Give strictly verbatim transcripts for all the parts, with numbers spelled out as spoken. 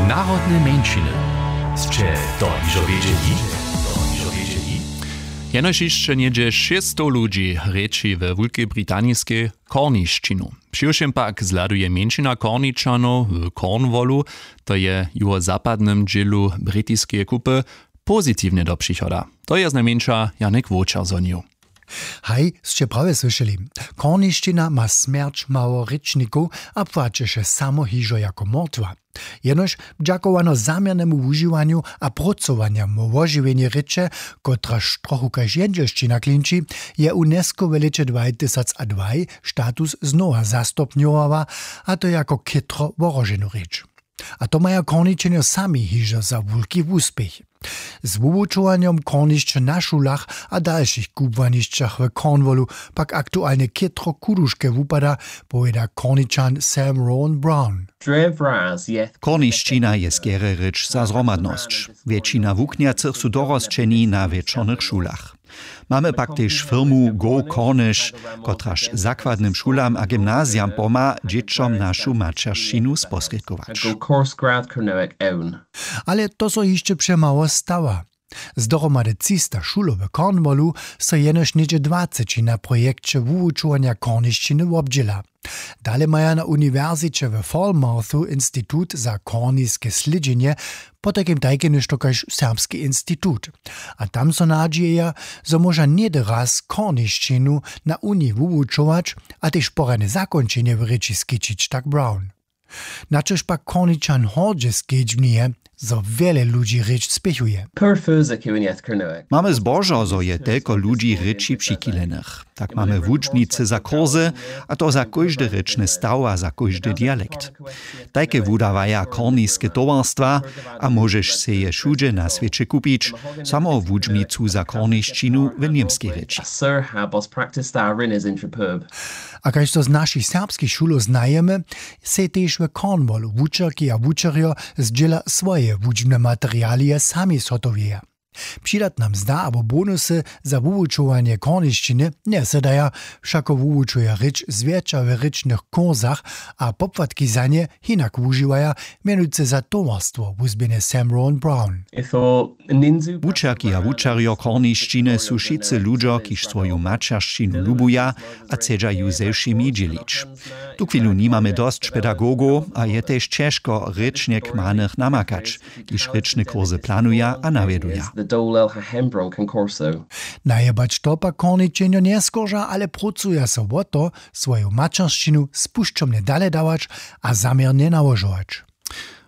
Narodne mjeńšiny. Sće to hižo wědźeli? Jenož hišće něhdźe šěsćstow ludźi rěči we Wulkej Britaniskej kornišćinu. Přiwšěm pak zhladuje mjeńšina Korničanow w Cornwallu, to je w juhozapadnym dźělu britiskeje kupy, pozitiwnje do přichoda. To je znajmjeńša Janek Wočer zhonił. Haj, sće prawje słyšeli. Kornišćina ma smjerć mało rěčnikow a płaćeše samo hižo jako mortwa. Jenož dźakowano zaměrnemu wužiwanju a prócowanjam wo wožiwjenje rěče, kotraž trochu kaž jendźelšćina klinči, je UNESCO w lěće dwatysacadwaj status znowa zastopnjowała, a to jako chětro wohroženu rěč. A to maja Korničenjo sami hižo za wulki wuspěch. Z wuwučowanjom kornišće na šulach a dalšich kubłanišćach w Cornwallu pak aktualnje chětro kuduške wupada, powěda Korničan Sam Rowan Brown. Kornišćina je skerje rěč za zhromadnosć. Wjetšina wuknjacych su dorosćeni na wječornych šulach. Mamy pak tež firmu Go Cornish, kotraž zakładnym šulam a gymnazijam pomha, dźěćom našu maćeršćinu sposrědkować. Ale to so hišće přemało stawa. Z dohromady třista šulow w Cornwallu so jenož něhdźe dwaceći na projekće wuwučowanja kornišćiny wobdźěla. Dale maja na uniwersiće w Falmouthu institut za korniske slědźenje, potajkim tajke něšto kaž serbski institut. A tam so nadźijeja, zo móža něhdy raz kornišćinu na uniji wuwučować a tež porjadne zakónčenje w rěči skićić, tak Brown. Na čož pak Korničan hordźe skedźbnije, zo wjele ludźi rěč spěchuje. Mamy zbožo, zo je telko ludźi rěči přichilenych. Tak mamy wučbnicy za kurse, a to za kóždy rěčny staw a za kóždy dialekt. Tajke wudawaja korniske towarstwa, a móžeš sej je wšudźe na swěće kupić, samo wučbnicu za kornišćinu w němskej rěči. A kaž to z našich serbskich šulow znajemy, sej tež w Cornwallu wučerki a wučerjo zdźěla swoje wučbne materialije sami zhotowjeja. Přidatna mzda abo bonusy za wuwučowanje kornišćiny njesedaja, wšako wuwučuja rěč zwjetša w rěčnych kursach a popłatki za nje hinak wužiwaja, mjenujcy za towarstwo wuzběhne Sam Rowan Brown. Wučerki a wučerjo kornišćiny su wšitcy ludźo, kiž swoju maćeršćinu lubuja a chcedźa ju ze wšěmi dźělić. Tuchwilu nimamy dosć pedagogow a je tež ćežko rěčnje kmanych namakać, kiž rěčne kurse planuja a nawjeduja. Najebać to pak korničenjo njeskorža, ale prócuja so wo to, swoju maćeršćinu spušćomnje dale dawać a zaměrnje nałožować.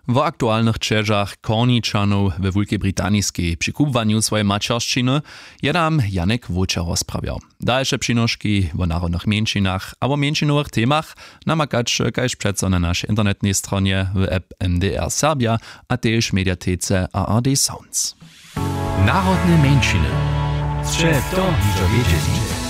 Wo aktualnych ćežach Korničanow we Wulkej Britaniskej při kubłanju swojeje maćeršćiny je nam Janek Wóčer rozprawjał. Dalše přinoški wo narodnych mjeńšinach a wo mjeńšinowych temach namakaće kaž přeco na našej internetnej stronje, w app M D R Serbja a tež w mediatece A R D Sounds. Narodne mjeńšiny. Sće to hižo wědźeli?